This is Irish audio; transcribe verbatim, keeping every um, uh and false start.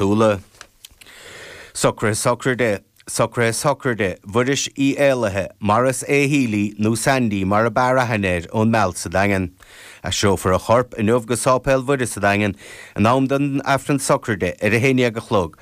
Úla. Socruithe sochraide Socruithe sochraide Mhuiris Uí Éalaithe, Maurice A. Healy nó Sandy mar ab fhearr aithne air ón Mealt sa Daingean. Aistreofar a chorp inniu go Sáipéal Mhuire sa Daingean in am don Aifreann sochraide ar a haon déag a chlog.